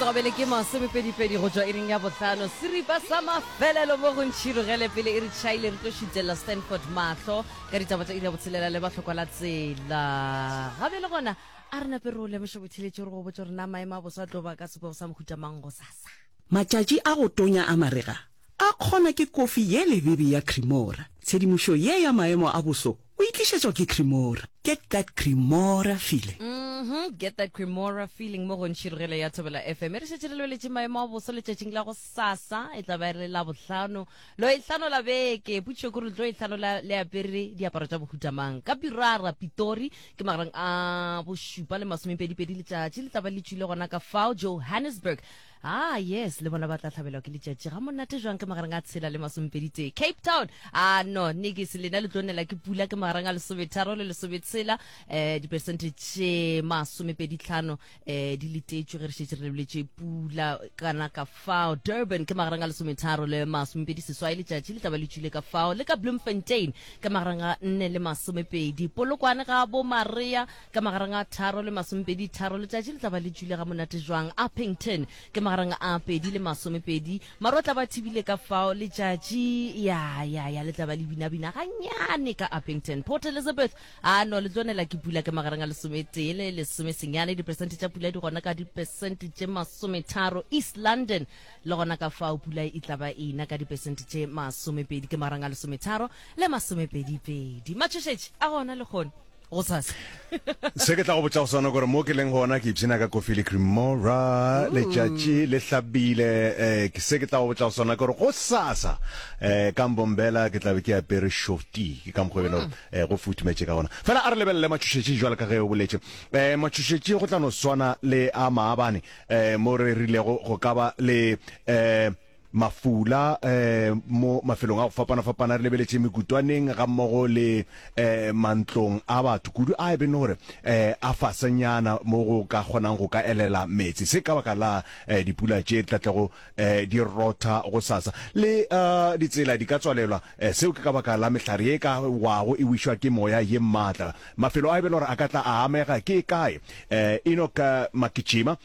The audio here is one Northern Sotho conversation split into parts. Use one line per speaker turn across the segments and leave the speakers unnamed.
Metsotso ke masomepedipedi go tšwa iring ya bohlano. Seripa sa mafelelo mo go ntšhirogele pele e re tšhaile re tlo šutelela Stanford mahlo ka ditaba tša iri ya botshelela le bahlokwa la tsela. Ga bjale gona a re nape re o lemoše botheletši re go botša gore na maemo a boso a tlo ba ka sebopego sa mohuta mang gosasa.
Matšatši a go tonya a marega a kgona ke kofi ye lebebe ya Cremora. Tshedimošo ye ya maemo a boso o e tlišetšwa ke Cremora. Get that Cremora feeling.
Mm-hmm, get that Cremora feeling mo go Ntšhirogelo ya Thobela FM. E re šetše re lebeletše maemo a boso letšatšing la go sasa, e tla ba e le Labohlano, lo ehlano la beke. Potšišo ke gore le tlo ehlano la le apere diaparo tša bohuta mang? Ka Pirara, Pitori, ke magareng a bošupa le masomepedipedi letšatši le tla ba le tšwile gona ka fao. Johannesburg, Ah, yes, le bona ba tla hlabelwa ke letšatši ga monate jwang ke magareng a tshela le masomepeditee. Cape Town, ah no, nikis, lena le tlo nela ke pula ke magareng a lesometharo le lesometshela, eh, diperesente tše masomepeditlhano, eh, di letetšwe ge re šetše re lebeletše pula kana ka fao. Durban ke magareng a lesometharo le masomepedi seswai, letšatši le tla ba le tšwile ka fao. Le ka Bloemfontein ke magareng a nne le masomepedi. Polokwane ga bo Maria Ka magareng a tharo le masomepedi tharo, letšatši le tla ba le tšwile ga monate jwang. Upington, ke magareng a pedi le masomepedi. Maru a tla ba thibile ka fao, letšatši, ya, ya, ya, le tla ba le binabina gannyane ka Upington. Port Elizabeth, a no, le tlo nela ke pula, ke magareng a lesometee le lesomesenyane. Diperesente tša pula di gona ka diperesente tše masometharo. East London, le gona ka fao pula e tla ba e na ka diperesente tše masomepedi, ke magareng a lesometharo le masomepedipedi. Matšhošetši a gona lehono. Gosasa.
Se ke tla go botša go sona gore mo ke leng gona ke ipshina ka kofi le cremora letšatši le hlabile eh, ke se ke tla go botša go sona gore gosasa eh, ka mbombela ke tla be ke apere shorty ke ka mokgwa e bele gore eh, go futhumetše ka gona fela a re lebelele matšhošetši jwalo ka ge o boletše eh, matšhošetši go tla no swana le a maabane eh, mo re rilego go ka ba le eh, Mafula mo mafelong a go fapana-fapana re lebeletše mekutwaneng gammogo le mantlong a batho kudu a e beng gore a fasenyana mo go ka kgonang go ka elela meetse. Se ka baka la dipula tše di tla tlego di rotha gosasa. Le ditsela di ka tswalelwa, seo ke ka baka la mehlare ye e ka wago e wišwa ke moya ye maatla. Mafelo a e beng gore a ka tla a amega ke kae? Enoch Makijima,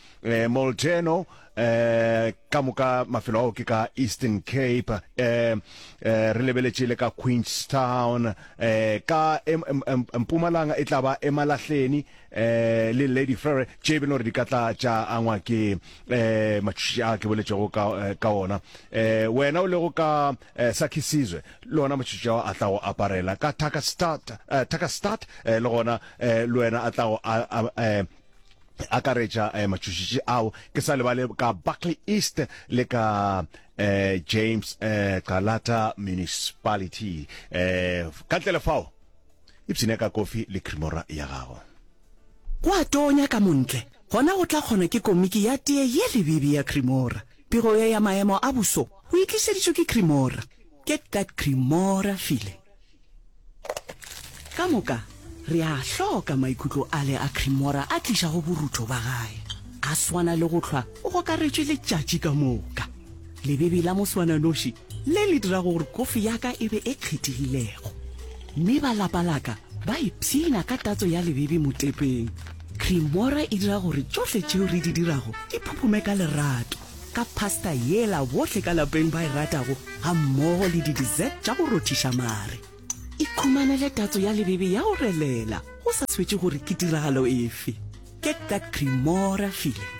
Molteno, Eh, ka moka mafelo ao ke ka Eastern Cape, eh, eh, re lebeletše le ka Queenstown, eh, ka Mpumalanga e tla ba Emalahleni, eh, le Lady Frere, tše e beng gore di ka tla tša angwa ke eh, matšhoši a ke boletšego ka, eh, ka ona. Eh, wena o lego ka eh, Sakhisizwe, le ona matšhoši ao a tla go aparela. Ka Tarkastad, eh, Tarkastad, eh, le gona eh, le wena a tla go a, a, eh, akaretša eh, matšhošitši ao ke sa lebale ka Barkly East le ka eh, James eh, Calata Municipality eh, ka ntle le fao ipshine ka kofi le cremora ya gago.
Go a tonya ka montle, gona go tla kgona ke komiki ya tee ye lebebe ya Cremora. Pego ye ya maemo a boso o e tlišeditšwe ke Cremora. Get that Cremora feeling. Ka moka re a hloka maikutlo ale a Cremora a tlišago borutho ba gae. A swana le go hlwa o gokaretšwe letšatši ka moka. Lebebe la moswananoši le le dirago gore kofi ya ka e be e kgethegilego. Mme ba lapa la ka ba ipshina ka tatso ya lebebe motepeng. Cremora e dira gore tšohle tšeo re di dirago di phuphume ka lerato. Ka pasta yela bohle ka lapeng ba e ratago gammogo le di-dessert tša go rothiša mare. Ikhumanele tatso ya lebebe ya go relela go sa svetše gore ke tiragalo efe. Get that Cremora feeling.